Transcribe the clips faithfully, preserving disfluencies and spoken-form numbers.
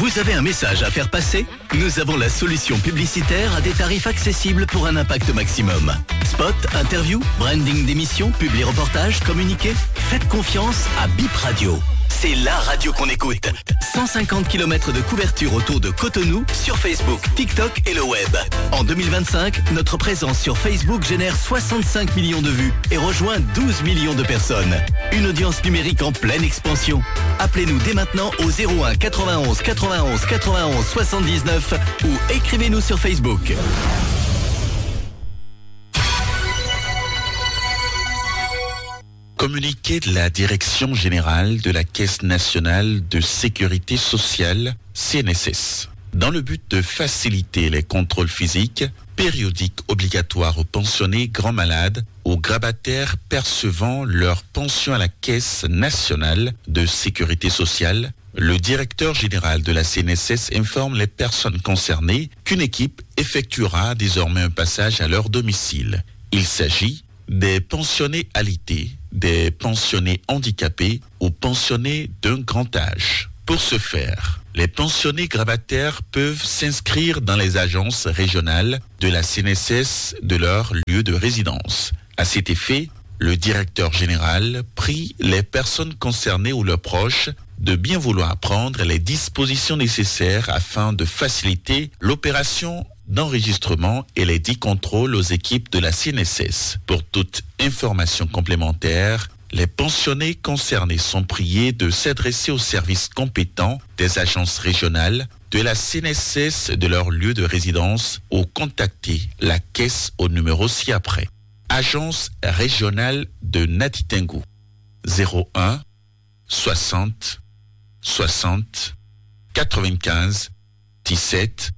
Vous avez un message à faire passer ? Nous avons la solution publicitaire à des tarifs accessibles pour un impact maximum. Spot, interview, branding d'émission, publi reportage, communiqué. Faites confiance à Bip Radio. C'est la radio qu'on écoute. Cent cinquante kilomètres de couverture autour de Cotonou, sur Facebook, TikTok et le web. En deux mille vingt-cinq, notre présence sur Facebook génère soixante-cinq millions de vues et rejoint douze millions de personnes. Une audience numérique en pleine expansion. Appelez-nous dès maintenant au zéro un quatre-vingt-onze quatre-vingt-onze quatre-vingt-onze soixante-dix-neuf ou écrivez-nous sur Facebook. Communiqué de la Direction Générale de la Caisse Nationale de Sécurité Sociale, C N S S. Dans le but de faciliter les contrôles physiques, périodiques obligatoires aux pensionnés grands malades, aux grabataires percevant leur pension à la Caisse Nationale de Sécurité Sociale, le directeur général de la C N S S informe les personnes concernées qu'une équipe effectuera désormais un passage à leur domicile. Il s'agit des pensionnés alités, des pensionnés handicapés ou pensionnés d'un grand âge. Pour ce faire, les pensionnés grabataires peuvent s'inscrire dans les agences régionales de la C N S S de leur lieu de résidence. À cet effet, le directeur général prie les personnes concernées ou leurs proches de bien vouloir prendre les dispositions nécessaires afin de faciliter l'opération d'enregistrement et les dix contrôles aux équipes de la C N S S. Pour toute information complémentaire, les pensionnés concernés sont priés de s'adresser aux services compétents des agences régionales de la C N S S de leur lieu de résidence ou contacter la caisse au numéro ci-après. Agence régionale de Natitingou, zéro un soixante soixante quatre-vingt-quinze dix-sept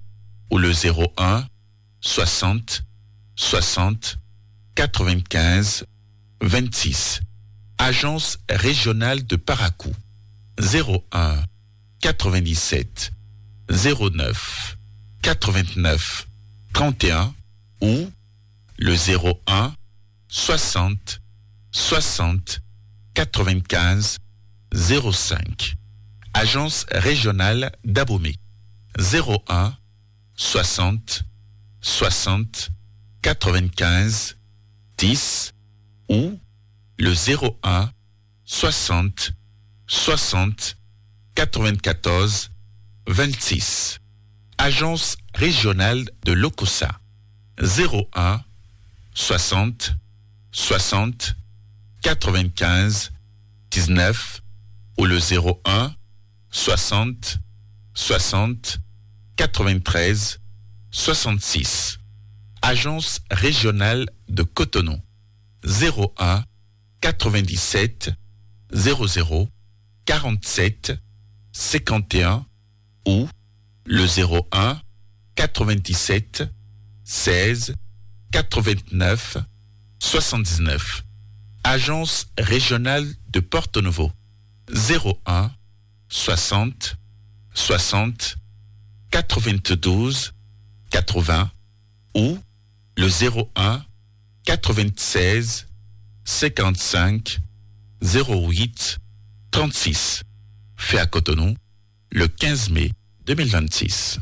ou le zéro un soixante soixante quatre-vingt-quinze vingt-six. Agence régionale de Parakou, zéro un quatre-vingt-dix-sept zéro neuf quatre-vingt-neuf trente et un ou le zéro un soixante soixante quatre-vingt-quinze zéro cinq. Agence régionale d'Abomey, zéro un soixante soixante quatre-vingt-quinze dix ou le zéro un soixante soixante quatre-vingt-quatorze vingt-six. Agence régionale de Lokossa, zéro un soixante soixante quatre-vingt-quinze dix-neuf ou le zéro un soixante soixante quatre-vingt-treize soixante-six. Agence régionale de Cotonou, zéro un quatre-vingt-dix-sept zéro zéro quarante-sept cinquante et un ou le zéro un quatre-vingt-dix-sept seize quatre-vingt-neuf soixante-dix-neuf. Agence régionale de Porto Novo, zéro un soixante soixante quatre-vingt-douze quatre-vingts ou le zéro un quatre-vingt-seize cinquante-cinq zéro huit trente-six. Fait à Cotonou le quinze mai deux mille vingt-six.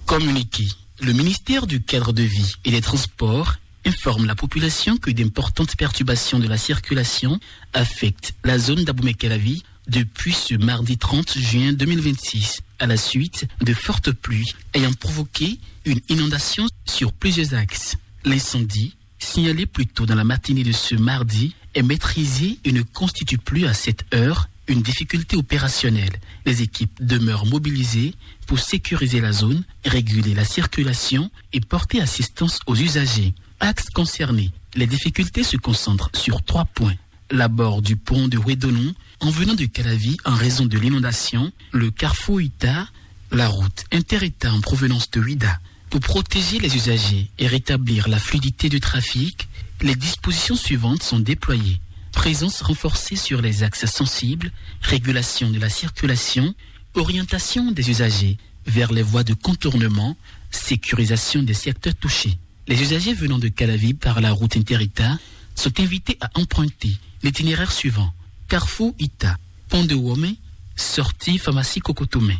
Communiqué. Le ministère du Cadre de vie et des Transports informe la population que d'importantes perturbations de la circulation affectent la zone d'Abomey-Calavi depuis ce mardi trente juin deux mille vingt-six, à la suite de fortes pluies ayant provoqué une inondation sur plusieurs axes. L'incendie, signalé plus tôt dans la matinée de ce mardi, est maîtrisé et ne constitue plus à cette heure une difficulté opérationnelle. Les équipes demeurent mobilisées pour sécuriser la zone, réguler la circulation et porter assistance aux usagers. Axes concernés, les difficultés se concentrent sur trois points. L'abord du pont de Ouédonon, en venant de Calavi en raison de l'inondation, le carrefour Ita, la route inter-État en provenance de Ouidah. Pour protéger les usagers et rétablir la fluidité du trafic, les dispositions suivantes sont déployées. Présence renforcée sur les axes sensibles, régulation de la circulation, orientation des usagers vers les voies de contournement, sécurisation des secteurs touchés. Les usagers venant de Calavi par la route inter-État sont invités à emprunter l'itinéraire suivant : carrefour Ita, Pont de Womé, sortie pharmacie Kokotomé.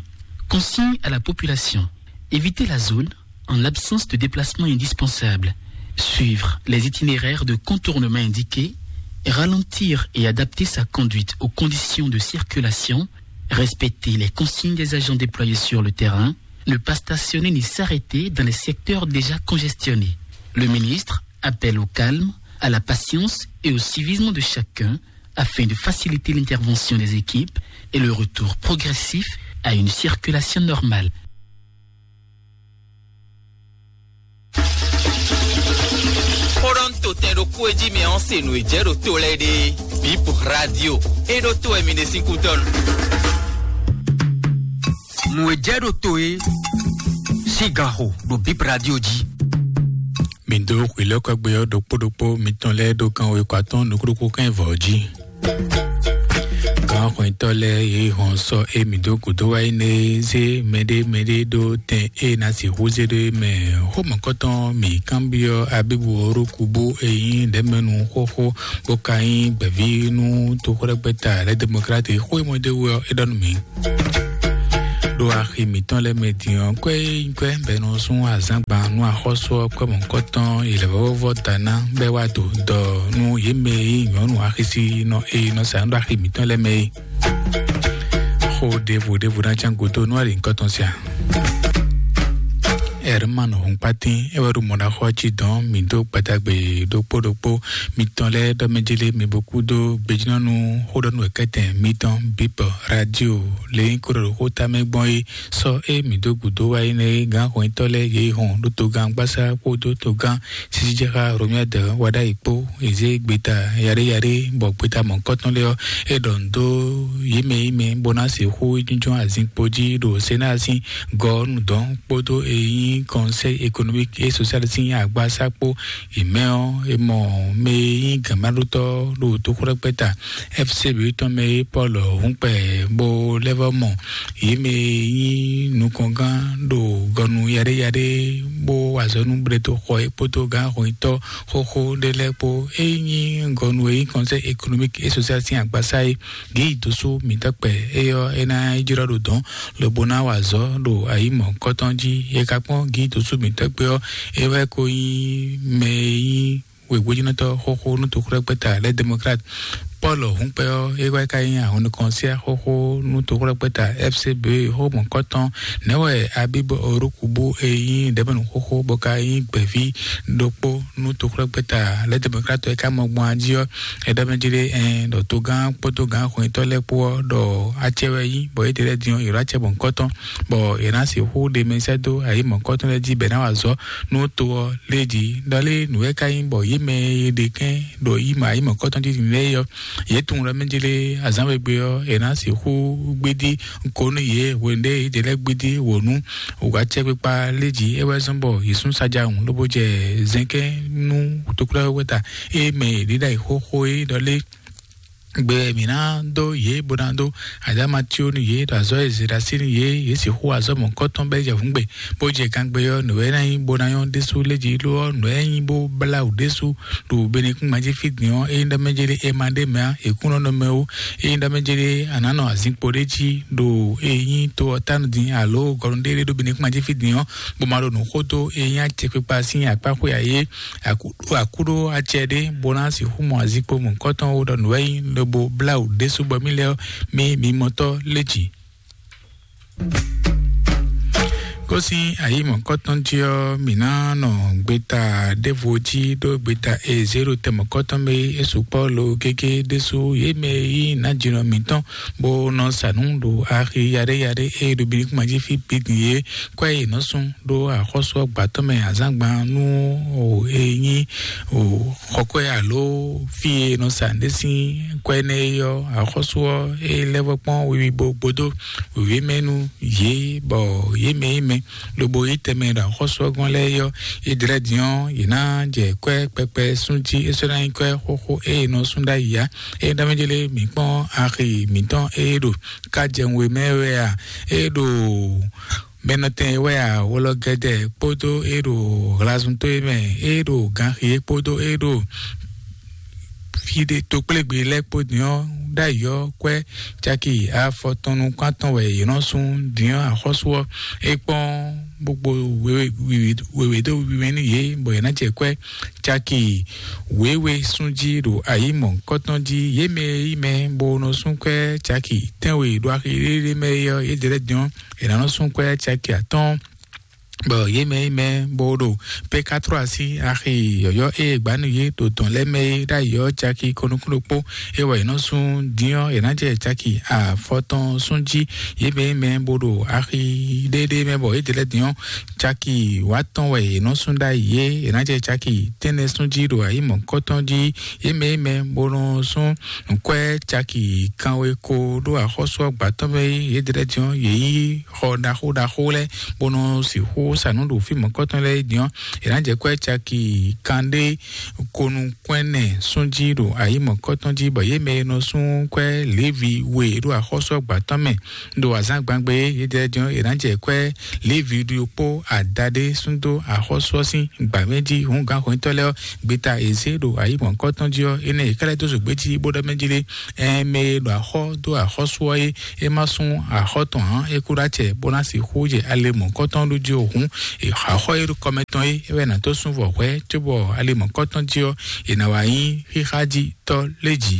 Consigne à la population : éviter la zone en l'absence de déplacement indispensable. Suivre les itinéraires de contournement indiqués, ralentir et adapter sa conduite aux conditions de circulation, respecter les consignes des agents déployés sur le terrain, ne pas stationner ni s'arrêter dans les secteurs déjà congestionnés. Le ministre appelle au calme, à la patience et au civisme de chacun afin de faciliter l'intervention des équipes et le retour progressif à une circulation normale. Xóɖɔ́ntotɛn ɖo kú e jí mɛ ɔ́ se nǔ e jɛ ɖo to lɛ́ɛ ɖe. Bip Radio. E ɖo to wɛ mi ɖe sín kútɔ́ nu. Nǔ e jɛ ɖo to e sín ganxo ɖo Bip Radio jí. Mi dó xwǐlɔ́kɔ́gbé ɔ́ ɖokpó ɖokpó mitɔn lɛ́ɛ ɖó kan we kɔ atɔ́ɔ́n nukúɖokpó kɛ́n vɔ̌ jí. Gǎnxwɛ́ntɔ́ lɛ́ɛ yě hɔn sɔ́ e mǐ dó gǔdo wá é nɛ́ zé mɛɖé mɛɖé ɖó tɛn e ná sixú zé ɖó é mɛ. Xómɔ̌kɔtɔn mǐ kanbyɔ́ Abíbu Orokubu e nyí ɖɛ̌mɛnu xóxó bó ka nyí gbɛ̌ví nú toxwlɛ́gbɛ́ta lɛ́ Demokrati xó e mɔ dó wú ɔ́, é ɖɔ nú mǐ. Ɖo axi mǐtɔn lɛ́ɛ mɛ din ɔ́, kwɛ́ e nyí kwɛ́ bɔ è nɔ sú azǎngban nú axɔ́sú ɔ́, kwɛ́ mɔ̌hunkɔtɔn yi lɛ̌ vɔ́vɔ́ da ná bɔ é wá do dɔ nú yě mɛ e nyí nyɔ̌nu axisínɔ e nɔ sa nǔ ɖo axi mǐtɔn lɛ́ɛ mɛ é. Xó ɖěvo ɖěvo ná cán gúdo nú ali nyǐkɔ tɔn sia. Ɛrman Hunkpatín é wɛ ɖo mɔ̌ɖaxɔ ɔ́ jí dɔn mǐ dó gbadagbe ɖokpó ɖokpó mitɔn lɛ́ɛ ɖɔ mɛ jélé mi bo kúdó gbejínɔ́nu xóɖɔ́nú wɛ̌kɛ́tɛn mitɔn Bíbɔ Radio lě nyí kó ɖɔ ɖo xó tamɛ gbɔn é. Sɔ́ é mǐ dó gǔdo wá é nɛ́ é gǎnhwɛntɔ́ lɛ́ɛ yě hɔn ɖó togán gbásá kpódó togán sísíjɛxá Romuald Wadagni kpó è zé gbeta yaɖéyaɖé bɔ gbeta mɔ̌hunkɔtɔn lɛ́ɛ ɔ́, é ɖɔ nǔ dó yě mɛ yí mɛ bó ná sixú jínjɔ́n azinkpo jí ɖo Sénat sín gɔ́ nú dɔ̌n kpódó e nyí Conseil économique et social sín agbasá kpó. È mɛ ɔ́, è mɔ mɛ e nyí gǎnmaɖótɔ́ ɖo toxwlɛ́kpɛ́ta F C B tɔn mɛ é Paul Hunkpɛ bó lɛ́ vɔ́ mɔ yě mɛ e nyí nukɔngán ɖo gɔnu yaɖéyaɖé bó wa azɔ̌ nú Blɛtoxɔ é kpódó gǎnhwɛntɔ́ xóxó ɖé lɛ́ɛ kpó. É nyí gɔnu e nyí Conseil économique et social sín agbasá é. Gǐ dǒsú mǐtɔn kpɛ é ɔ́, é ná yi jlɔ́ ɖo dɔ̌n lobo ná wa azɔ̌ ɖo ayǐ mɔ̌hunkɔtɔn jí. É ka kpɔ́n gǐ dǒsú mǐtɔn kpé ɔ́, é wɛ ko nyí mɛ e nyí wěgbójínɔtɔ́ xóxó nú toxwlɛ́kpɛ́ta lɛ́ Demokrat. Paul Hunkpɛ ɔ́, é wɛ ka nyí ahɔnnukɔnsiá xóxó nú toxwlɛ́kpɛ́ta F C B xómɔ̌kɔtɔn. Nɛ̌ wɛ Abib Orokubu e nyí ɖɛ̌mɛnu xóxó bɔ ka nyí gbɛ̌ví ɖokpó nú toxwlɛ́kpɛ́ta lɛ́ Demokrat ɔ́, é ka mɔ gbɔn ají ɔ́, é ɖɔ mɛ jí ɖé ɛn ɖɔ togán kpódó gǎnhwɛntɔ́ lɛ́ɛ kpó ɔ́ ɖɔ acɛ wɛ nyí, bɔ yědɛɛ lɛ́ɛ din ɔ́, yě ɖo acɛ mɔ̌hunkɔtɔn, bɔ yě ná sixú ɖe mɛ sɛ́ dó ayǐ mɔ̌hunkɔtɔn lɛ́ɛ jí bɔ è nǎ wa azɔ̌ nú to ɔ́ lé jí. Ɖɔ lé nǔ wɛ ka nyí bɔ yě mɛ e ɖe kɛ́n ɖo yí mɛ ayǐ mɔ̌hunkɔtɔn jí din lɛ́ɛ é ɔ́, yě tunwun ɖɔ mɛ jí lé azǎn we gbe ɔ́, è nǎ sixú gbédí ko nú yě hwenu ɖé yě lɛ́ gbédí wǒ nú wǎcɛkpikpa lé jí. É wɛ zɔ́n bɔ yě sún sajahun lobo jɛ zɛnkɛ́n nú toklɛ́wɛ́ta e mɛ yě ɖe ɖ'ayǐ xóxó é ɖɔ lé. Gbe mǐ ná dó yě bó ná dó azǎmatíó nú yě, ɖo azɔ̌ e zě ɖo así nú yě, yě sixú azɔ̌ mɔ̌hunkɔtɔn bɛ́ jɛ hǔngbe, bó jɛ gangbe ɔ́, nǔ e ná nyí bó ná nyɔ́ ɖésú lé jí, lo ɔ́, nǔ e nyí bó blá wǔ ɖésú ɖo benekúngban jí fí din ɔ́, ényí ɖɔ mɛ jélé e ma ɖ'é mɛ ǎ, è kún nɔ nɔ mɛ ó. Ényí ɖɔ mɛ jélé a nǎ nɔ azinkpo ɖé jí ɖo e nyí to ɔ́ tánu din alo gɔnu ɖé ɖé ɖo benekúngban jí fí din ɔ́, bó ma ɖo nǔ xó dó e nyí acɛkpikpa sín akpá xwé ǎ é. Akúɖó acɛ ɖé bó ná sixú mɔ azinkpo mɔ̌hunkɔtɔn ó ɖɔ nǔ wɛ nyí lobo blá wǔ ɖésú bɔ mì lɛ́ ɔ́, mì mǐmɔtɔ́ lé jǐ. Kó sín ayǐ mɔ̌hunkɔtɔn jí ɔ́, mǐ ná nɔ gbeta ɖěvo jí ɖó gbeta e zě ɖo tɛn mɔ̌hunkɔtɔn mɛ é sukpɔ́ lo gégé ɖésú. Yě mɛ e nyí nǎjínɔ mǐtɔn bó nɔ sa nǔ ɖo axi yaɖéyaɖé e ɖo Benin kúnma jí fí bǐ din é, kwɛ́ e nɔ sún ɖó axɔ́sú ɔ́ gbǎtɔ́ mɛ azǎngban nú o e nyí o xɔkwɛ́ alo fí e nɔ sa nǔɖé sín kwɛ́ nɛ́ é ɔ́, axɔ́sú ɔ́ é lɛ́ vɔ́ kpɔ́n wiwi bo gbódó wěwé mɛ nú yě, bɔ yě mɛ e mɛ lobo yí tɛnmɛ ɖo axɔ́sú ɔ́ gɔ́n lɛ́ɛ é ɔ́, é dlɛ́ din ɔ́, yě ná jɛ kwɛ́ kpɛkpɛ sún jí, é sɔ́ ná nyí kwɛ́ xóxó e è nɔ sún ɖ'ayǐ ǎ. É ɖɔ mɛ jélé mǐ kpɔ́n axi mǐtɔn e ɖo ká jɛ we mɛ wɛ a? E ɖo mɛnɔtɛn wɛ a? Wlɔ gɛdɛ kpódó e ɖo hlazuntó e mɛ, e ɖo ganxi e kpódó e ɖo fí ɖé tokplégbé lɛ́ɛ kpó din ɔ́, ɖ'ayǐ ɔ́, kwɛ́ caki afɔtɔn nukún atɔn wɛ yě nɔ sú. Din ɔ́, axɔ́sú ɔ́, é kpɔ́n bó kpo wěwé dó wiwi nú yě, bɔ yě ná jɛ kwɛ́ caki wěwe sún jí ɖo ayǐ mɔ̌hunkɔtɔn jí. Yě mɛ e nyí mɛ bó nɔ sú kwɛ́ caki tɛ́nwe ɖo axi ɖéɖé mɛ é ɔ́, yědɛɛ lɛ́ɛ din ɔ́, è nǎ nɔ sú kwɛ́ caki atɔ́ɔ́n. Bɔ yě mɛ e nyí mɛ bó ɖo pekatrɔ́ así axi yɔ̌yɔ́ e è gbǎ nú yě ɖo dɔ̌n lɛ́ɛ mɛ é ɖ'ayǐ ɔ́, caki ko nukún ɖokpó é wɛ è nɔ sú. Din ɔ́, è nǎ jɛ caki afɔtɔn sún jí. Yě mɛ e nyí mɛ bó ɖo axi ɖéɖé mɛ, bɔ yědɛɛ lɛ́ɛ din ɔ́, caki wǎtɔn wɛ è nɔ sú ɖ'ayǐ é, è nǎ jɛ caki tɛ́nnɛ sún jí ɖo ayǐ mɔ̌hunkɔtɔn jí. Yě mɛ e nyí mɛ bó nɔ sú nǔkwɛ́ caki kanwe ko ɖó axɔ́sú ɔ́ gbǎtɔ́ mɛ é, yědɛɛ lɛ́ɛ din ɔ́, yě yí xɔ ɖaxó ɖaxó lɛ́ɛ, bó nɔ sixú sa nǔ ɖo fí mɔ̌kɔtɔn lɛ́ɛ din ɔ́, è nǎ jɛ kwɛ́ caki kanɖé konukún ɛnɛ sún jí ɖo ayǐ mɔ̌kɔtɔn jí, bɔ yě mɛ e nɔ sú kwɛ́ Levi we ɖo axɔ́sú ɔ́ gbǎtɔ́ mɛ ɖo azǎngbangbé é, yědɛɛ din ɔ́, è nǎ jɛ kwɛ́ Levi ɖokpó adaɖé sú dó axɔ́sú ɔ́ sín gbǎ mɛ jí hǔn gǎnxɔ́nyitɔ́ lɛ́ɛ ɔ́, gbeta è zě ɖo ayǐ mɔ̌kɔtɔn jí ɔ́, énɛ́ è ká lɛ́ dó zǒgbé jí bó ɖɔ mɛ jí lé. Ɛn mɛ e ɖo axɔ́ dó axɔ́sú ɔ́ é, é má sú axɔ́ tɔn ǎ, é kú ɖó acɛ bó ná sixú jɛ ale mɔ̌kɔtɔn ɖó jí o hǔn, axɔ́ e ɖo kɔmɛ tɔn é, é wɛ ná tó sú vɔ hwɛ̌, cóbɔ ale mɔ̌kɔtɔn jí ɔ́, è nǎ wá nyí xíxá jí tɔ́ lé jǐ.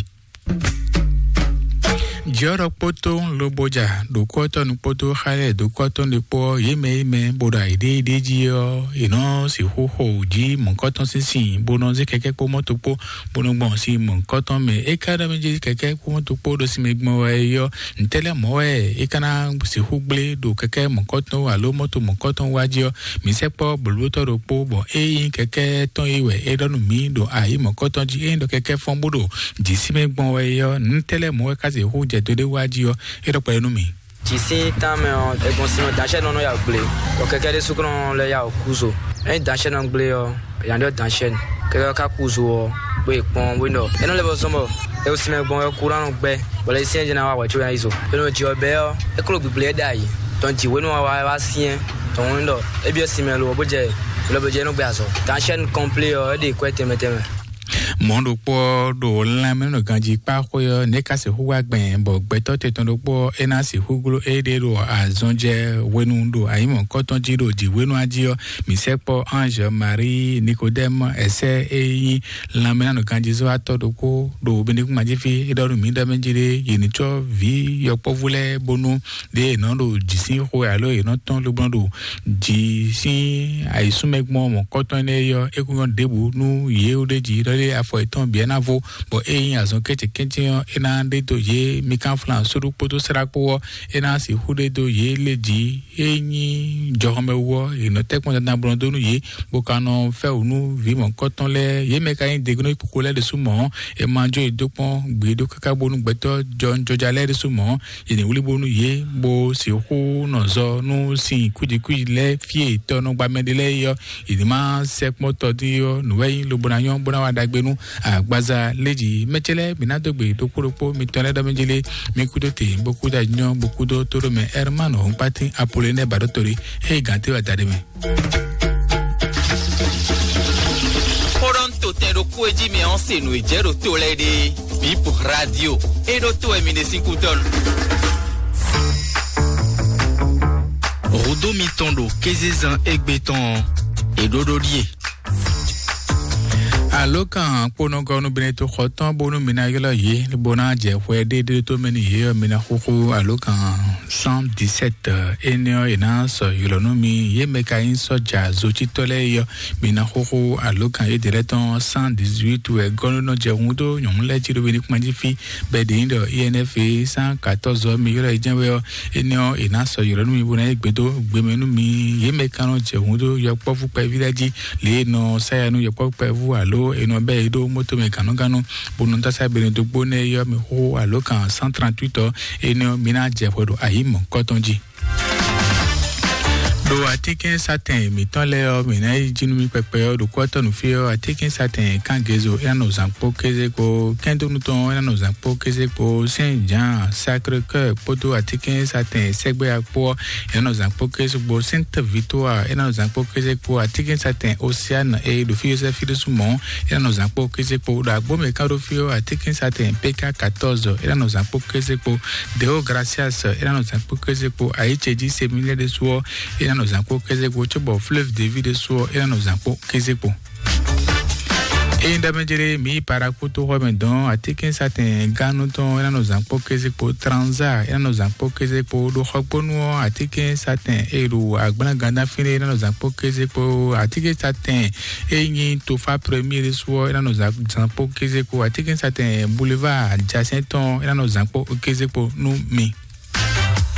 Jɔ́ ɖɔ kpótó loboja ɖokɔ́tɔ́nu kpótó xá lɛ́ɛ ɖokɔ́tɔ́nu ɖokpó ɔ́, yě mɛ yě mɛ bó ɖo ayǐɖéɖé jí ɔ́, è nɔ sixú xo jí mɔ̌kɔtɔn sín sin, bó nɔ zé kɛkɛ́ kpó mɔ́to kpó, bó nɔ gbɔn sin mɔ̌kɔtɔn mɛ. É ka ɖɔ mɛ jí kɛkɛ́ kpó mɔ́to kpó ɖo sin mɛ gbɔn wɛ é ɔ́, ntɛ́ lɛ́ɛ mɔ̌ wɛ é ka ná sixú gblé ɖo kɛkɛ́ mɔ̌kɔtɔn alo mɔ́to mɔ̌kɔtɔn wá jí ɔ́? Mǐ sɛkpɔ́ blǒblótɔ́ ɖokpó, bɔ é nyí kɛkɛ́ tɔn é wɛ é ɖɔ nú mǐ ɖo ayǐ mɔ̌kɔtɔn jí. É nyí ɖɔ kɛkɛ́ fɔ́n bó ɖo jǐ sí mɛ gbɔn wɛ é ɔ́, nǔ tɛ́ lɛ́ɛ mɔ̌ wɛ ká sixú jɛ do ɖé wá jí ɔ́, é ɖɔ kpɛɖé nú mǐ. Jǐ sín tánmɛ ɔ́, è gbɔn sin ɔ́, danshɛ nɔ nɔ ya wǔ gblé, bɔ kɛkɛ́ ɖésú kɔn lɛ́ ya wǔ kú zo. Ényí danshɛ nɔ gblé ɔ́, è nǎ ɖɔ danshɛ nɔ. Kɛkɛ́ ɔ́ ka kú zo ɔ́, bó yi kpɔ́n, bó yi ɖɔ é nɔ lɛ́ vɔ zɔ́n bɔ é wú sin mɛ gbɔn wɛ kúran nɔ gbɛ́, bɔ lɛ sín jɛ ná wa wɛ có ná yi zo. É nɔ jɛ ɔ́ bɛ́ ɔ́, é kó ɖo gbǐgblé ɛ ɖ'ayǐ, tɔn jǐ hwenu wa wá syɛ́n, tɔn hwenu ɖɔ é byɔ́ sin mɛ lo ɔ́, bó jɛ lɔ bó jɛ é nɔ gbé azɔ̌. Danshɛ nɔ kɔnplé ɔ́, é ɖe kwɛ́ tɛnmɛ tɛnmɛ. Mɔ̌ ɖokpó ɔ́ ɖo lanmɛnɔganjí kpá xwé ɔ́, nɛ̌ ka sixú wá gbɛn, bɔ gbɛtɔ́ tɛtɔn ɖokpó ɔ́, é ná sixú gló éɖée ɖo azɔn jɛ hwenu ɖo ayǐmɔ̌kɔtɔn jí ɖo jǐ hwenu jí ɔ́, mǐ sɛkpɔ́ Ange Marie Nikodɛ́mu ɛsɛ́ e nyí lanmɛnɔganjízɔ́watɔ́ ɖokpó ɖo Benediktín jí fí, é ɖɔ nú mǐ ɖɔ mɛ jí ɖé, yě ní cɔ́ vǐ yɔkpɔ́vú lɛ́ɛ bónú ɖě è nɔ ɖo jǐ sín xwe alo è nɔ tɔ́n lobɔ ɖo jǐ sín ayǐsúnmɛ gbɔn mɔ̌kɔtɔn énɛ́ é ɔ́, é kún nyɔ́ ɖěbǔ nú yě ɖ'é jí ɖɔ lé afɔ yětɔn bǐ ná vo, bɔ é nyí azɔn kɛ́cɛ́kɛ́cɛ́ ɔ́, é ná ɖe dó yě. Mikánflan sóɖú kpódó srá kpó ɔ́, é ná sixú ɖe dó yě lé jí. É nyí jɔhɔnmɛwu ɔ́, è nɔ tɛ́ kpɔ́n dandan blɔ́ dó nú yě, bó ka nɔ fɛ́ wǔ nú vǐ mɔ̌kɔtɔn lɛ́ɛ. Yě mɛ ka nyí degunɔ kpokpo lɛ́ɛ ɖésú mɔ̌, è ma jó yě dó kpɔ́n gbeɖé káká bónú gbɛtɔ́ jɔnjɔja lɛ́ɛ ɖésú mɔ̌, yě ní wlí bónú yě bó sixú nɔ zɔ nú sin kújikúji lɛ́ɛ fí e tɔ́ nɔ gba mɛ ɖé lɛ́ɛ é ɔ́, yě ní ma sɛkpɔ́ tɔ́ dín ɔ́, nǔ wɛ nyí lobo ná nyɔ́ bó ná wa ɖagbe nú agbaza lé jí. Mɛ ce lɛ́ɛ bǐ ná dó gbe ɖokpó ɖokpó mitɔn lɛ́ɛ ɖɔ mɛ jí lé, mi kúdó te bó kúdó anyɔ bó kúdó tóɖó mɛ Hermano Hɔnkpátín Apolonɛ Baɖótoli, eye gǎn té wɛ da ɖé mɛ. Xɔɖɔn to tɛn ɖokpó e jí mi ɔ́ se nǔ e jɛ ɖo to lɛ́ɛ ɖe. Bip radio. E ɖo to wɛ mi ɖe sín kútɔ́ nu. Rodo mitɔn ɖo kézezan égbé tɔn ɔ́, e ɖó ɖó ɖíe. Alo kan kponɔgɔnu Benedikto xɔ tɔn bónú mi ná ylɔ́ yě, bó ná jɛ xwɛ ɖéɖé tó mɛ n'i yě ɔ́, mi ná xúxú alo kan cent dix-sept. Énɛ́ ɔ́, è nǎ sɔ́ ylɔ́ nú mi. Yě mɛ ka nyí sɔ́ja zocítɔ́ lɛ́ɛ é ɔ́, mi ná xúxú alo kan yědɛɛ lɛ́ɛ tɔn cent dix-huit wɛ gɔ́ nɔ jɛ hun dó nyɔ̌nu lɛ́ɛ jí ɖo Benediktín jí fí, bɔ è ɖe nyí ɖɔ I N F cent quatorze ɔ́, mi ylɔ́ yě jɛ́n wɛ ɔ́, énɛ́ ɔ́, è nǎ sɔ́ ylɔ́ nú mi bó ná yí gbe dó gbe mɛ nú mi. Yě mɛ ka nɔ jɛ hun dó yɔkpɔ́vú kpɛví lɛ́ɛ jí, lě e è nɔ sá ya nú yɔkpɔ́vú kpɛvú alo è nɔ bɛ́ yě ɖó moto mɛ gǎnnugánnu, bó nɔ dó asá Benedikto nɛ́ é ɔ́, mi xúxú alo kan cent trente-huit ɔ́, énɛ́ ɔ́, mi ná jɛ hwɛ ɖo ayǐ mɔ̌kɔtɔn jí. Ɖo atínkɛnsatɛn mǐtɔn lɛ́ɛ ɔ́, mǐ ná yi jí nú mì kpɛkpɛ ɔ́, ɖo kɔ́tɔ́ nǔ fí ɔ́, atínkɛnsatɛn Kángezo é ná nɔ zǎn kpó kéze kpó, kɛ́ndónútɔn é ná nɔ zǎn kpó kéze kpó, Sɛn Jǎan, Sacré-Cœur kpódó atínkɛnsatɛn sɛgbɛ́ya kpó ɔ́, é ná nɔ zǎn kpó kéze kpó, Sainte Victoire é ná nɔ zǎn kpó kéze kpó, atínkɛnsatɛn Océane e ɖo fí Yosɛ́fi ɖésú mɔ̌ é ná nɔ zǎn kpó kéze kpó, ɖo agbómɛ ká ɖo fí ɔ́, atínkɛnsatɛn P K quatorze é ná nɔ zǎn kpó kéze kpó, Deo Gracias é ná nɔ zǎn kpó kéze kpó, ayǐ ce jí Séminaire ɖésú ɔ́, é ná nɔ zǎn kpó kéze kpó, cóbɔ Fleuve de Vie ɖésú ɔ́, é ná nɔ zǎn kpó kéze kpó. Ényí ɖɔ mɛ jlé mǐ yi Paraku toxɔ mɛ dɔn, atínkɛnsatɛn Ganu tɔn é ná nɔ zǎn kpó kéze kpó, Tranza é ná nɔ zǎn kpó kéze kpó, ɖo xɔgbónú ɔ́, atínkɛnsatɛn e ɖo agblán Gandafín é ná nɔ zǎn kpó kéze kpó, atínkɛnsatɛn e nyí Tofa Premier ɖésú ɔ́, é ná nɔ zǎn kpó kéze kpó, atínkɛnsatɛn Boulevard Jacinthe tɔn é ná nɔ zǎn kpó kéze kpó nú mi.